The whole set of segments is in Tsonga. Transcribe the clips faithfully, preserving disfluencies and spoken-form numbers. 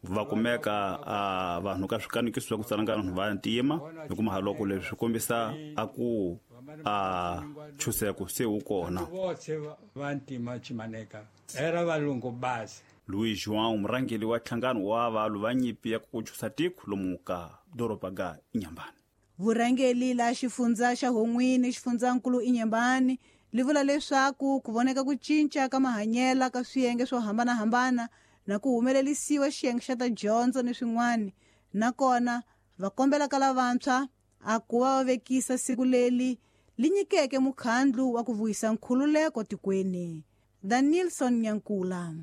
Va kumeka a vanhu ka swikanekiso swa ku tsana vanhu va ntima hi kuma loko leswi swi kombisa a ku a chuseko se wu kona. Va ntima chimaneka era valungu basi. Louis João murhangeri wa nhlangano wa valwi va nyimpi ya ku chusa tiko lomu ka doroba ga Inhambane. Vurhangeri la xifundza xa Hon'wini xifundzankulu Inhambane li vula leswaku ku voneka ku cinca ka mahanyelo ka swiyenge swo hambanahambana na ku humelerisiwa xiyenge xa ta dyondzo ni swin'wana, nakona va kombela ka lavantshwa a ku va va vekisa siku leri li nyikeke mukhandlu wa ku vuyisa nkhululeko tikweni. Danielson Nyankula.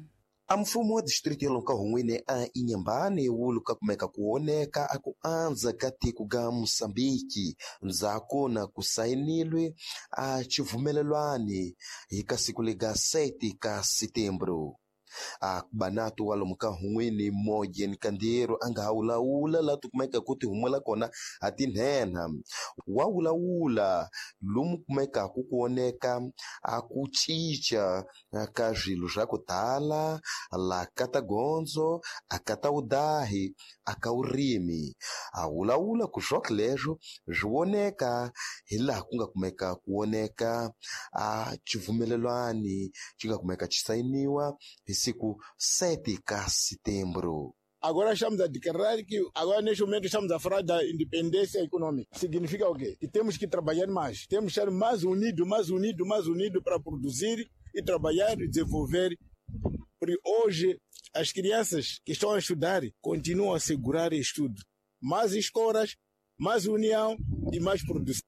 A mfumo wa distrito ya lomu ka Hon'wini a Inhambane wu luka kumeka ku oneka a ku andza ka tiko ga Mosambiki ndzhaku na ku sayinilwe a xivumelelwani hi ka siku lega sete ka Setembro. A banato wa lomu ka Hon'wini Moyen Kandiero a nga ha wulawula laha ti kumeka ku ti humela kona a tinhenha wa wulawula lomu kumekaku ku oneka a ku cinca ka swilo swa ku tala la ka ta gondzo a ka ta wudahi a ka vurimi a wulawula ku swoke leswo swi voneka hi laha ku nga kumeka ku oneka a xivumelelwani xi nga kumeka xi sayiniwa hi siku sete ka Setembro. Agora estamos a declarar que agora neste momento estamos a falar da independência econômica. Significa o quê? Que temos que trabalhar mais, temos que estar mais unidos, mais unidos, mais unidos para produzir e trabalhar e desenvolver. Porque hoje as crianças que estão a estudar continuam a segurar estudo. Mais escolas, mais união e mais produção.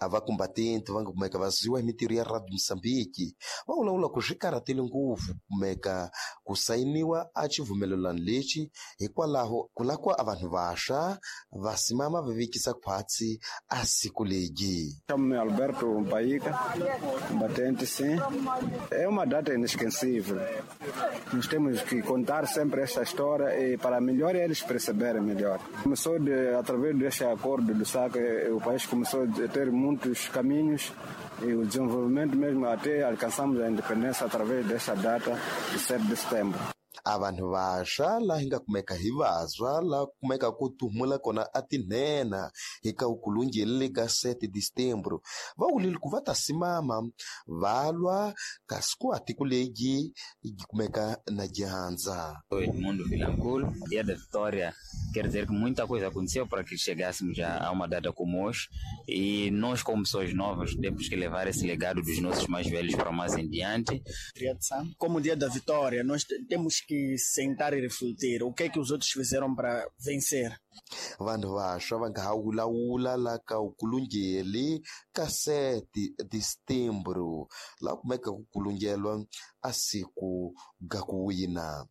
A vacombatente vanga kumeka vaziwa hi mintirho ya Radio Mosambiki va vulavula ku swi karhatile ngopfu kumeka ku sayiniwa a xivumelelano lexi hikwalaho ku lava a vanhu vantshwa va simama va vekisa khwatsi a siku legi. Chamo-me Alberto Mpaíca, combatente, sim. É uma data inesquecível. Nós temos que contar sempre esta história e para melhor eles perceberem melhor. Começou de, através deste acordo do S A C, o país começou a ter muitos caminhos e o desenvolvimento mesmo até alcançamos a independência através desta data de sete de setembro. A vanhu vantshwa laha hi nga kumeka hi vantshwa laha kumeka ku tuhumula kona a tinhenha hi ka ukulungeli ka sete de setembro va wulile ku va ta simama va lwa kasi ku a tiko legi yi kumeka na dyandza. Edmundo Vilanculo, Dia da Vitória quer dizer que muita coisa aconteceu para que chegássemos a uma data como hoje e nós como pessoas novas temos que levar esse legado dos nossos mais velhos para mais em diante. Como o Dia da Vitória, nós temos que sentar e refletir o que é que os outros fizeram para vencer. Vanhu vantshwa va nga ha wulawula la ka ukulungeli ka sete de setembro laha kumeka ku kulungelwa a siku ga ku wina.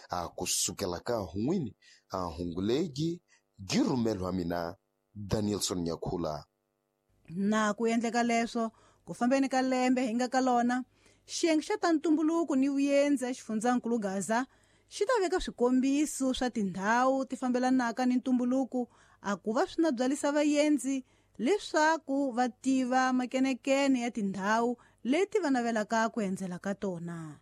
A kusukela ka Hon'wini a hungulegi gi rhumelwa mina Danielson Nyakhula. Na ku endleka leswo ku fambeni ka lembe hi nga ka lona xiyenge xa ta ntumbuluko ni vuyendzi exifundzankulu Gaza xi ta veka swikombiso swa tindhawu ti fambelanaka ni ntumbuluko a ku va swi na byalisa vayendzi leswaku va tiva makenekene ya tindhawu leti va navelaka ku endzela ka tona.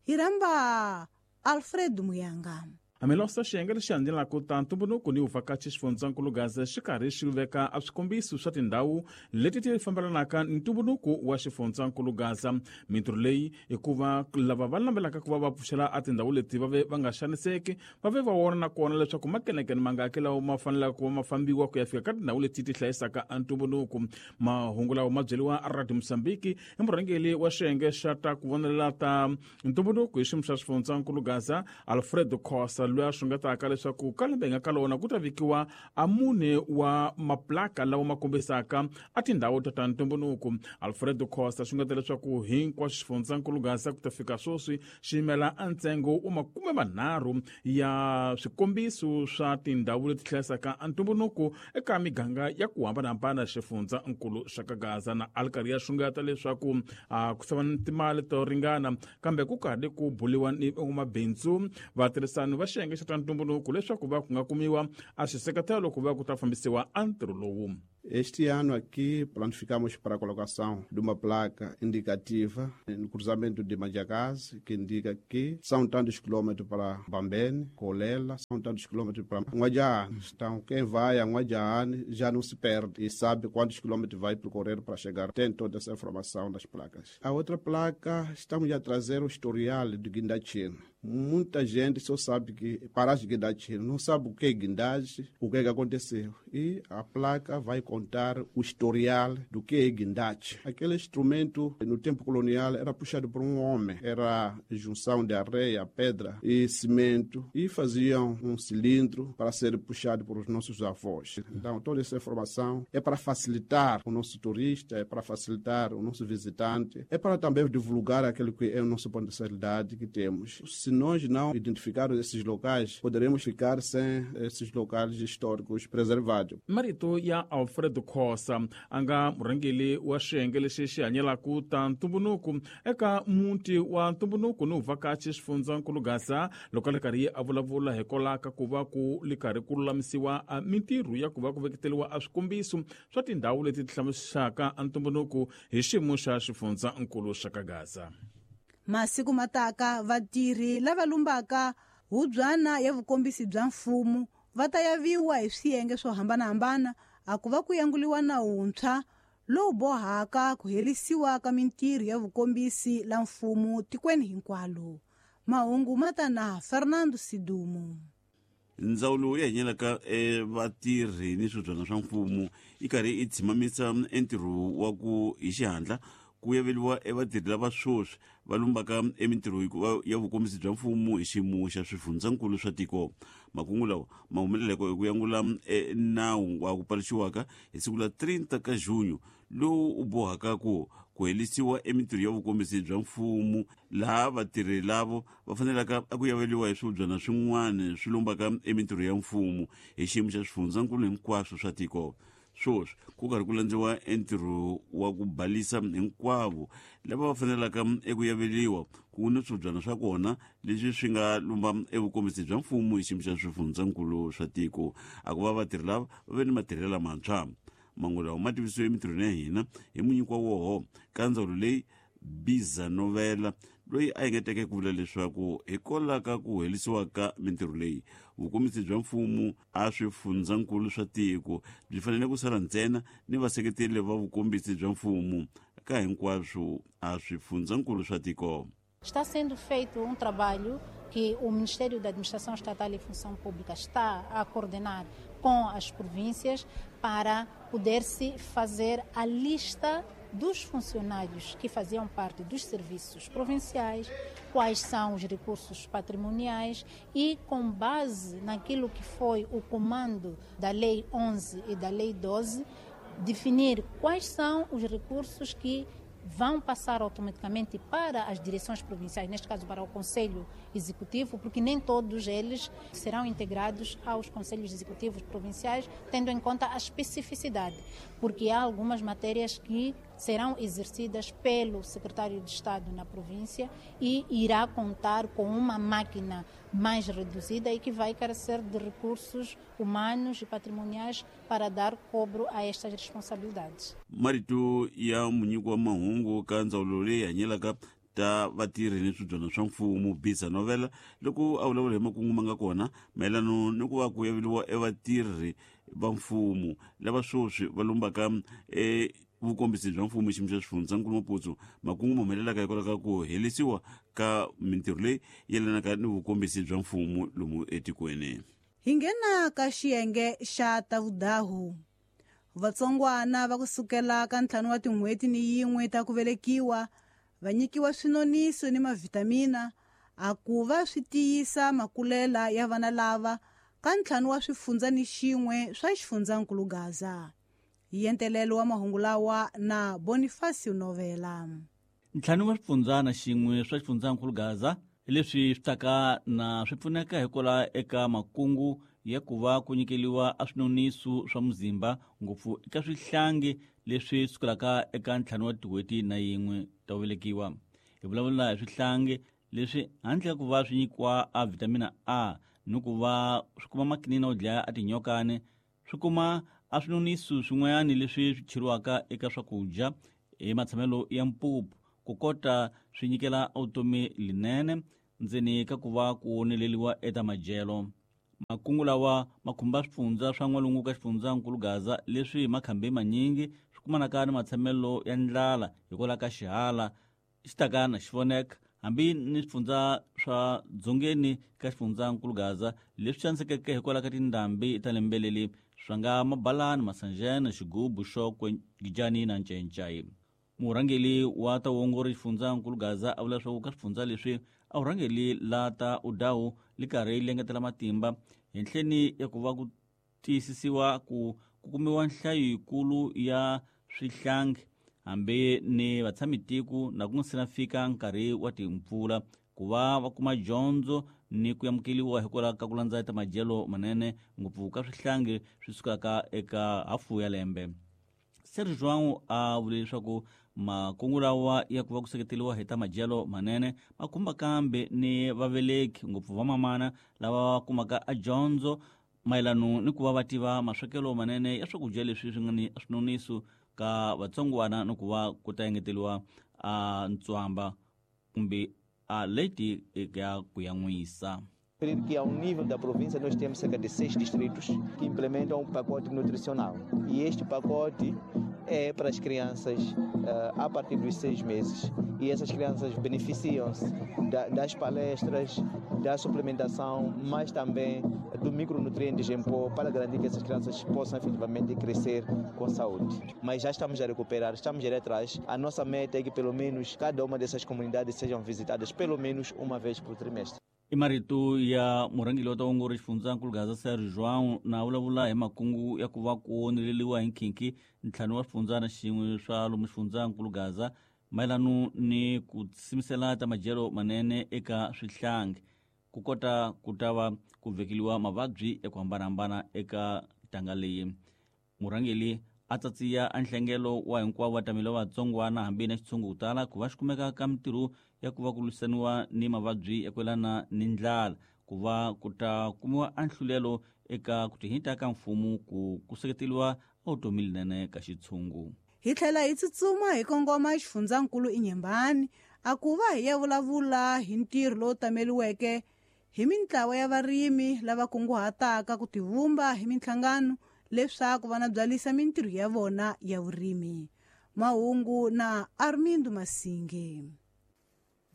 Hi rhamba Alfred Muyanga. Amilosa xiyenge lexi landzelaka ta ntumbuluko ni vuvhakachi xifundzankulu Gaza xi karhi xi veka a swikombiso swa tindhawu leti ti fambelanaka ni ntumbuluko wa xifundzankulu Gaza. Mintirho leyi i ku va lava va lambelaka ku va va pfuxela a tindhawu leti va ve va nga xaniseki va ve va vona na kona leswaku makenekene mangaki lawa ma fanelaka ku va ma fambiwa ku ya fika ka tindhawu leti ti hlayisaka a ntumbuluko. Mahungu lawa ma byeriwa a Radio Mosambiki i murhangeri wa xiyenge xa ta ku vonelela ta ntumbuluko hi xiyimo xa xifundzankulu Gaza Alfredo Costa loyi a xungetaka leswaku ka lembe hi nga ka lona ku ta vekiwa a mune wa maplaka lawa ma kombisaka a tindhawu ta ta ntumbuluko. Alfredo Costa xungeta leswaku hinkwaswo xifundzankulu Gaza ku ta fika sweswi xi yimela a ntsengo wa makume manharhu ya swikombiso swa tindhawu leti hlayisaka a ntumbuluko eka miganga ya ku hambanahambana xifundzankulu xa ka Gaza. Na a karhi ya xungeta leswaku a ku sava ni timali to ringana kambe ku karhi ku buliwa ni van'wamabindzu vatirhisani va xiyenge xa ta ntumbuluko leswaku va ku nga kumiwa a xiseketelo ku va ku ta fambisiwa a ntirho lowu. Este ano aqui planificamos para a colocação de uma placa indicativa no cruzamento de Manjacaze, que indica que são tantos quilômetros para Bambene, Colela, são tantos quilômetros para N'Guadjane. Então, quem vai a N'Guadjane já não se perde e sabe quantos quilômetros vai percorrer para chegar. Tem toda essa informação nas placas. A outra placa, estamos a trazer o historial do Guindachino. Muita gente só sabe que paraste de Guindachino, não sabe o que é guindaste, o que é que aconteceu. E a placa vai contar o historial do que é guindaste. Aquele instrumento, no tempo colonial, era puxado por um homem. Era junção de areia, pedra e cimento. E faziam um cilindro para ser puxado por os nossos avós. Então, toda essa informação é para facilitar o nosso turista, é para facilitar o nosso visitante, é para também divulgar aquilo que é o nosso potencialidade que temos. Se nós não identificarmos esses locais, poderemos ficar sem esses locais históricos preservados. Marito ya Alfredo Khosa a nga murhangeri wa xiyenge lexi xi hanyelaka ta ntumbuluko eka muti wa ntumbuluko ni vuvhakachi xifundzankulu Gaza loko a ri karhi a vulavula hikwalaho ka ku va ku li karhi ku lulamisiwa mintirho ya ku va ku veketeliwa a swikombiso swa tindhawu leti ti hlamusaka ntumbuluko hi xiyimo xa xifundzankulu xa ka Gaza. Masiku mataka vatirhi lava lumbaka hubyana ya vukombisi bya mfumo va ta yaviwa hi swiyenge swo hambanahambana a ku va ku yanguliwa nawu wuntshwa lowu bohaka ku herisiwa ka mintirho ya vukombisi la mfumo tikweni hinkwalo. Mahungu ma ta na Fernando Sidumo. Ndzawulo ya hanyelaka vatirhi ni swibyana swa mfumo yi karhi yi tshimamisa entirho wa ku hi xihatla ku yaveliwa evatirhi lava sweswi va lumbaka emintirho ya vukombisi bya mfumo hi xiyimo xa swifundzankulu swa tiko. Makungu lawa ma humeleleke hi ku yangula nawu wa ku paluxiwaka hi siku la thirty ka junho lowu u bohaka ku ku herisiwa emintirho ya vukombisi bya mfumo laha vatirhi lavo va fanelaka ku yaveliwa hi swibyana swin'wana swi lumbaka emintirho ya mfumo hi xiyimo xa swifundzankulu hinkwaswo swa tiko. Sweswi ku karhi ku landziwa entirho wa ku balisa hinkwavo lava va fanelaka eku yaveliwa ku ni swibyana swa kona leswi swi nga lumba evukombisi bya mfumo hi xiyimo xa swifundzankulu swa tiko. A ku va vatirhi lava va ve ni matirhelo lamantshwa. Mangu lawa ma tivisiwe emintirhweni ya hina hi munyiki wa woho ka ndzawulo leyi Biza Novela loyi a engeteke ku vula leswaku hikwalaho ka ku herisiwa ka mintirho leyi vukombisi bya mfumo a swifundzankulu swa tiko byi fanele ku sala ntsena ni vaseketeri va vukombisi bya mfumo ka hinkwaswo a swifundzankulu swa tiko. Está sendo feito um trabalho que o Ministério da Administração Estatal e Função Pública está a coordenar com as províncias para poder-se fazer a lista dos funcionários que faziam parte dos serviços provinciais, quais são os recursos patrimoniais e, com base naquilo que foi o comando da Lei onze e da Lei doze, definir quais são os recursos que vão passar automaticamente para as direções provinciais, neste caso para o Conselho Executivo, porque nem todos eles serão integrados aos Conselhos Executivos Provinciais, tendo em conta a especificidade, porque há algumas matérias que serão exercidas pelo Secretário de Estado na província e irá contar com uma máquina mais reduzida e que vai carecer de recursos humanos e patrimoniais para dar cobro a estas responsabilidades. Marito ya munyiki wa mahungu ka ndzawulo leyi hanyelaka ta vatirhi ni swibyana swa mfumo Biza Novela loko a vulavula hi makungu ma nga kona mayelano ni ku va ku yaveliwa evatirhi va mfumo lava sweswi va lumbaka e vukombisi bya mfumo xiyimo xa swifundzankulu Maputo. Makungu ma humelelaka hikwalaho ka ku herisiwa ka mintirho leyi yelanaka ni vukombisi bya mfumo lomu etikweni. Hi nghena ka xiyenge xa ta vudahu. Vatsongwana va kusukela ka ntlhanu wa tin'hweti ni yin'we ta ku velekiwa va nyikiwa swinoniso ni mavhitamina a ku va swi tiyisa makulela ya vana lava ka ntlhanu wa swifundza ni xin'we swa xifundzankulu Gaza. Yentelelo wa mahungu lawa na Bonifacio Novela. Ntlhanu wa swifundzana xin'we swa xifundzankulu Gaza leswi swi taka na swi pfuneka hikwalaho eka makungu ya ku va ku nyikeliwa a swinoniso swa muzimba ngopfu eka swihlangi leswi sukelaka eka ntlhanu wa tin'hweti na yin'we ta ku velekiwa. Hi vulavula hi swihlangi leswi handle ka ku va swi nyikiwa a vitamina A ni ku va swi kuma makinina wo dlaya a tinyokani swi kuma a swinoniso swin'wanyana leswi swi cheriwaka eka swakudya hi matshamelo ya mpupu ku kota swi nyikela vutomi linene ndzeni ka ku va ku oneleliwa eka madyelo. Makungu lawa ma khumba swifundza swa n'walungu ka xifundzankulu Gaza leswi hi makhambi manyingi swi kumanaka ni matshamelo ya ndlala hikwalaho ka xihala xi taka na xi voneka hambi ni swifundza swa dzongeni ka xifundzankulu Gaza leswi xanisekeke hikwalaho ka tindhambi ta lembe leri swa nga Mabalani, Masanjana, Xigubu, Xokwe, Gijani na Ncencai. Murhangeri wa ta vuongori xifundzankulu Gaza a vula leswaku ka swifundza leswi a vurhangeri la ta udawu li karhi li engetela matimba henhleni ya ku va ku tiyisisiwa ku ku kumiwa nhlayo yikulu ya swihlangi hambi ni vatshamitiko na ku nga se na fika nkarhi wa timpfula ku va va kuma dyondzo ni ku amukeriwa hikwalaho ka ku landza ta madyelo manene ngopfu ka swihlangi swi sukaka eka hafu ya lembe. Serge João a vule leswaku makungu lawa ya ku va ku seketeriwa hi ta madyelo manene ma khumba kambe ni vaveleki ngopfu vamamana lava va kumaka a dyondzo mayelano ni ku va va tiva maswekelo manene ya swakudya leswi swi nga ni swinoniso ka vatsongwana ni ku va ku ta engeteriwa a ntswamba kumbe a leti ya ku yan'wisa. Que ao nível da província nós temos cerca de seis distritos que implementam um pacote nutricional. E este pacote é para as crianças uh, a partir dos seis meses. E essas crianças beneficiam-se da, das palestras, da suplementação, mas também do micronutrientes em pó para garantir que essas crianças possam efetivamente crescer com saúde. Mas já estamos a recuperar, estamos a ir atrás. A nossa meta é que pelo menos cada uma dessas comunidades sejam visitadas pelo menos uma vez por trimestre. I marito ya murhangeri wa ta vuongori xifundzankulu Gaza Serge João na vulavula hi makungu ya ku va ku oneleliwa hi nkhinkhi ntlhanu wa swifundzana xin'we swa lomu xifundzankulu Gaza mayelano ni ku simisela ta madyelo manene eka swihlangi ku kota ku ta va ku vekeliwa mavabyi ya ku hambanahambana eka ntanga leyi. Murhangeri a tsatsiya a nhlengelo wa hinkwavo vatameli va vatsongwana hambi na xitshungu ku tala ku va xi kumeka ka mintirho ya ku va ku lwisaniwa ni mavabyi ya ku yelana ni ndlala ku va ku ta kumiwa a nhlulelo eka ku tihita ka mfumo ku ku seketeriwa vutomi linene ka xitshungu. Hi tlhela hi tsutsuma hi kongoma xifundzankulu Inhambane a ku va hi ya vulavula hi ntirho lowu tameliweke hi mintlawa ya varimi lava kunguhataka ku tivumba hi minhlangano leswaku vana byalisa mintirho ya vona ya vurimi. Mahungu na Armindo Masinge.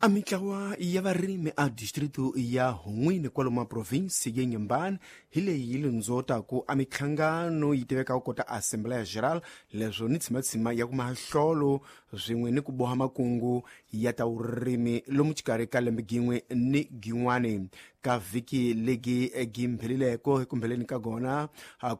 A mintlawa ya varimi a distrito ya Hun'wini kwalomu provinsi ya Inhambane hi leyi yi lundzotaka a minhlangano yi tivekaka kota Assembleia Geral leswo ni tshimatshima ya ku mahlolo swin'we ni ku boha makungu ya ta vurimi lomu xikarhi ka lembe gin'we ni gin'wani. Ka vhiki legi gimphelileko ekumbheleni ka gona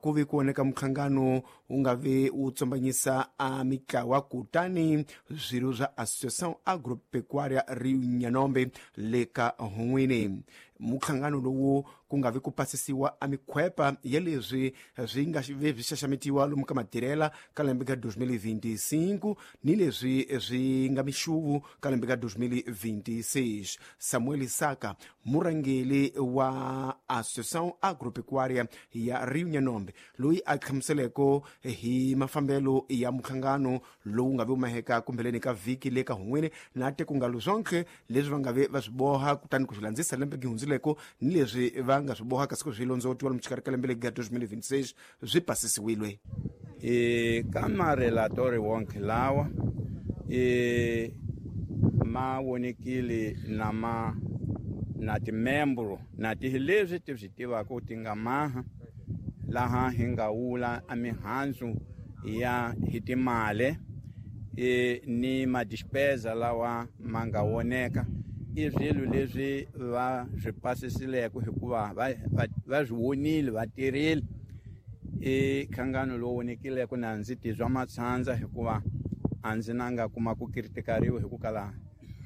ku vi ku voneka minhlangano wu nga vi wu tsombanyisa a mitlawa kutani swirho swa Associação Agropecuária Rio Nhanombe le ka Hun'wini. Muhlangano lowu ku nga vi ku pasisiwa a mikhwepa ya leswi swi nga vi swi xaxametiwa lomu ka matirhela ka lembe ka dois mil e vinte e cinco ni leswi swi nga mixuvu ka lembe ka dois mil e vinte e seis. Samuel Isaka, murhangeri wa Associação Agropecuária ya Rio Nhanombe, loyi a hlamuseleko hi mafambelo ya muhlangano lowu nga vi maheka kumbheleni ka vhiki le ka Hun'wini na te ku nga luzonke leswi va nga vi va swi boha kutani ku swi landzisa lembe gihundzileko ni leswi va nga swi boha kasi ku swi londzootiwa lomu xikarhi ka lembe leri ga dois mil e vinte e seis swi pasisiwile. E ka marelatori wonke lawa e ma vonekile na ma na timembro na ti leswi ti swi tivaka ti nga maha laha hi nga wula a mihandzu ya hi timali e ni madispesa lawa ma nga voneka i swilo leswi va swi pasisileke hikuva va va swi vonile va tirhile. I nhlangano lowu vonekileke na ndzi tizwa matshandza hikuva a ndzi na nga kuma ku kritikariwa hi ku kala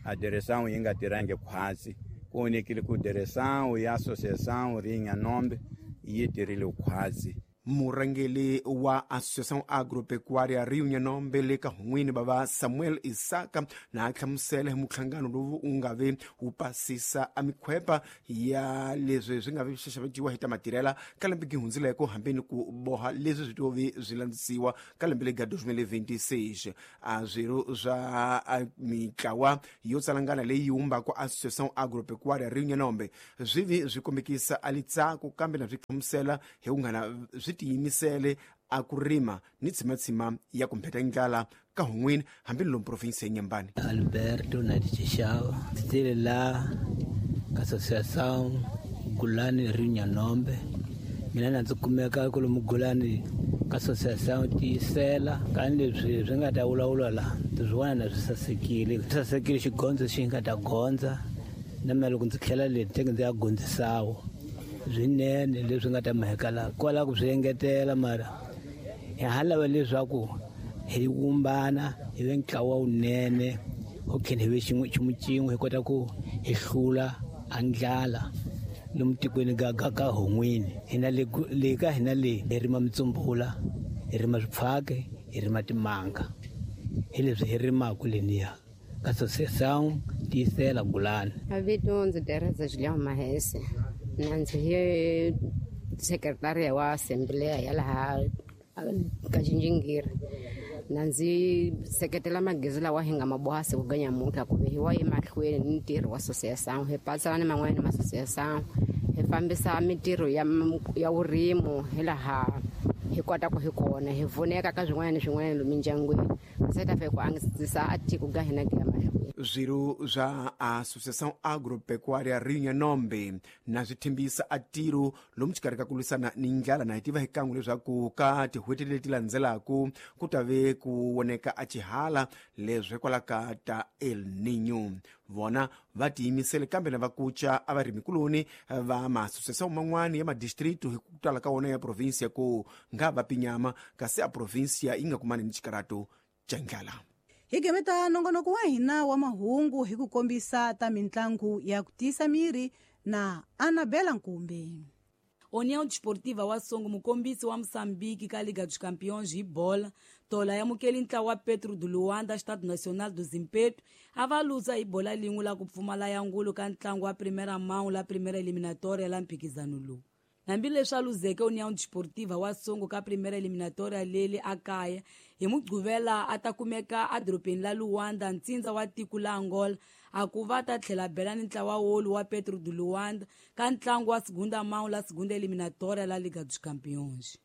a direção yi nga tirhangi khwatsi. Ku vonekile ku direção ya associação Rio Nhanombe yi tirhile khwatsi. Murhangeri wa Associação Agropecuária Rio Nhanombe le ka Hun'wini bava Samuel Isaka na hlamusela hi muhlangano lowu wu nga ve wu pasisa a mikhwepa ya leswi swi nga vi swi xaxametiwa hi ta matirhela ka lembe gi hundzileko hambi ni ku boha leswi swi tovi swi landzisiwa ka lembe lega twenty twenty-six. A swirho swa mitlawa yo tsalangana leyi wumbaka Associação Agropecuária Rio Nhanombe swi vi swi kombekisa a litsako kambe na swi hlamusela hi ku ngana swi tiyimisele a ku rima ni tshimatshima ya ku mpheta ndlala ka Hun'wini hambi lomu province ya Nyambani. Alberto Nadixixava titele la Associação Gulani Rio Nhanombe. Mina na ndzi kumeka kwalomu Gulani ka Associação Tiyisela. Kani leswi swi nga ta vulavula la ndzi swi vona na swi sasekile, swi sasekile xigondzo xi nga ta gondza na mina loko ndzi tlhela le teke ndzi ya gondzisawo swinene leswi nga ta mheka la kwala ku swi engetela mara hi ha lava leswaku hi vumbana hi ve ntlawa wunene ho tlhela hi ve xin'we nchumu xin'we hi kota ku hi hlula a ndlala lomu tikweni ka ka ka Hun'wini. Hina le le ka hina le hi rima mitsumbula, hi rima swipfhake, hi rima timanga, hi leswi hi rimaka leniya ka Associação Tiyisela Gulani. Vito ndzi Teresa Julião Mahese, na ndzi hi sekretariya wa assembleya ya laha ka Xinjingiri. Na ndzi seketela magezi lawa hi nga ma boha siku ga nyamuntlha ku ve hi wa emahlweni ni ntirho wa associação, hi patsana ni man'wana ma associação, hi fambisa mintirho ya ya vurimo hi laha hi kotaka hi kona, hi pfuneka ka swin'wana ni swin'wana lomu mindyangwini se ta fika ku antswisa a tiko ga hina ku ya mahlweni. Swirho swa Associação Agropecuária Rio Nhanombe na swi tshembisa a tiro lomu xikarhi ka ku lwisana ni ndlala na hi tiva hi kan'we leswaku ka tin'hweti leti landzelaku ku ta ve ku voneka a xihala leswi hikwalaho ka ta El Niño. Vona va tiyimisele kambe na va kuca a varimikuloni va maasosiação man'wani ya madistritu hi ku tala ka wona ya provinsia ku nga va pinyama kasi a provinsia yi nga kumani ni xikarato xa ndlala. Hi gemeta nongonoko wa hina wa mahungu hi ku kombisa ta mintlangu ya ku tiyisa miri na Anabela Nkumbi. União Desportiva wa Songo, mukombisi wa Moçambique ka Liga dos Campeões hi bola, tola yamukeli ntlawa wa Petro de Luanda, Estado Nacional do Zimpeto, a va luza hi bola lin'we la ku pfumala ya ngulu ka ntlangu wa primeira mão la primeira eliminatória la mphikizano lowu. Hambileswi a luzeke União Desportiva wa Songo ka primeira eliminatória leli a kaya, hi Mugqivela a ta kumeka edorobeni la Luanda, ntsindza wa tiko la Angola, a ku va ta tlhela bela ni ntlawa wolu wa Petro de Luanda ka ntlangu wa segunda mão la segunda eliminatória la Liga dos Campeões.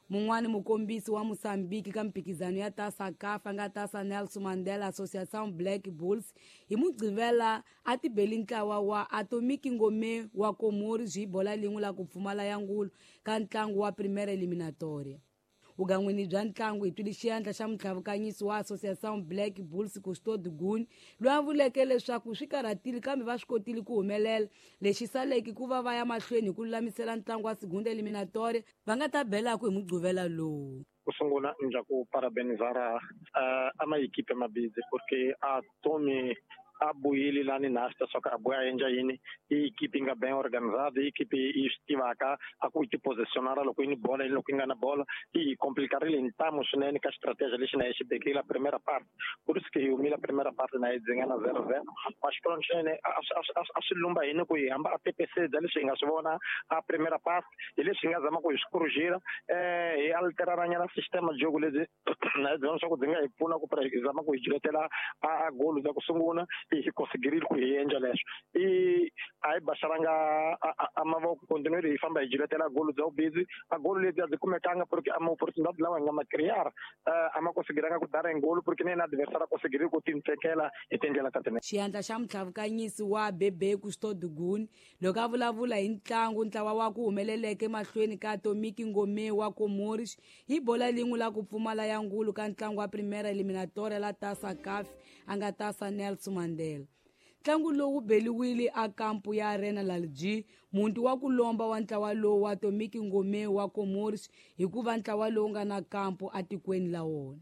Mun'wani mukombisi wa Moçambique ka mphikizano ya Taça CAF nga Taça Nelson Mandela Associação Black Bulls hi Mugqivela a tibeli ntlawa wa Atomic Ngome wa Comores hi bola lin'we la ku pfumala ya ngulu ka ntlangu wa primeira eliminatória. Vugan'wini bya ntlangu hi twile xiandla xa mutlhavukanyisi wa Associação Black Bulls Custode Guni, loyi a vuleke leswaku swi karhatile kambe va swi kotile ku humelela. Lexi saleke ku va va ya mahlweni hi ku lulamisela ntlangu wa segunda eliminatória va nga ta belaku hi Mugqivela lowu. Ku sungula ndza ku parabenizar uh, ama equipe mabizi porque a tome a buyile lani nasta só que a buya endla yini i equipe nga bem organizada, i equipe yi swi tivaka a ku ti posicionar loko yi ni bola loko yi nga na bola i complicarile ntamu swinene ka stratégia lexi na yi xi bekile la primeira parte, por isso que hi humile a primeira parte na yi dzinga na zero zero. Mas pronto swinene a swi lumba hini ku hi hamba a P P C bya leswi hi nga swi vona a primeira parte hi leswi hi nga zama ku hi swi corrigir, eh hi alteraranyana sistema jogo lebyi na hi byona swa ku byi nga hi pfuna ku hi zama ku hi jiletela a golo bya ku sungula hi conseguirile ku hi endla leswo i a hi baxaranga a mavoko continuer hi famba hi jiletela golo bya vubizi a golo lebyi a byi kumekanga porque a ma-opportunidade lawa hi nga ma crear a ma conseguiranga ku dara ngolo porque na yena adversário a conseguirile ku tintekela hi tindlela ta tinene. Xiandla xa mutlhavukanyisi wa Bebe Custode Guni loko a vulavula hi ntlangu ntlawa wa ku humeleleke mahlweni ka Atomic Ngome wa Comores hi bola lin'we la ku pfumala ya ngulu ka ntlangu wa primeira eliminatória la Taça CAF a nga Taça Nelson Mandela. Ntlangu lowu beliwile a kampu ya Arena Lalji, muti wa ku lomba wa ntlawa lowu wa Atomic Ngome wa Comores hikuva ntlawa lowu nga na kampu atikweni la wona.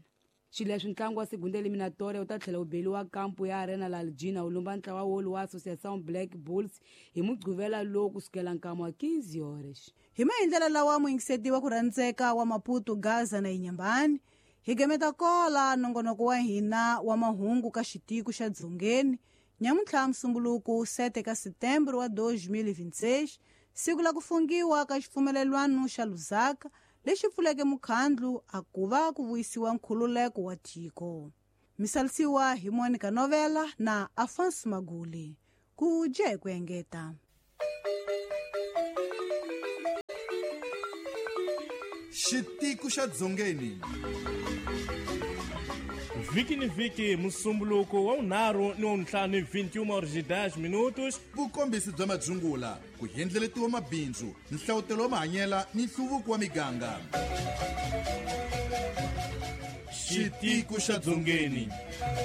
Xileswi ntlangu wa segunda eliminatoria wu ta tlhela wu beliwa kampu ya Arena Laljina wu lumba ntlawa wolu wa Associação Black Bulls hi mugqivela lowu kusukela nkama wa quinze horas. Hi maendlelo lawa muyingisetiwa ku rhandzeka wa Maputo, Gaza na Inhambane, hi gemeta kola nongonoko wa hina wa mahungu ka xitiko xa Dzongeni nyamuntlha Musumbuluku sete ka Setembro wa dois mil e vinte e seis, siku la ku fungiwa ka xipfumelelwano xa Lusaka lexi pfuleke mukhandlu a ku va ku vuyisiwa nkhululeko wa tiko. Misalisiwa hi Monica Novela na Afonso Maguli. Ku dya hi ku engeta. Xitiko xa Dzongeni. Vhiki ni vhiki musumbuluko wa vunharhu ni wa vuntlhanu vinte e uma horas e dez minutos. Vukombisi bya madzungula, ku hendleletiwa mabindzu, nhlawutelo wa mahanyela ni nhluvuko wa miganga. Xitiko xa Dzongeni.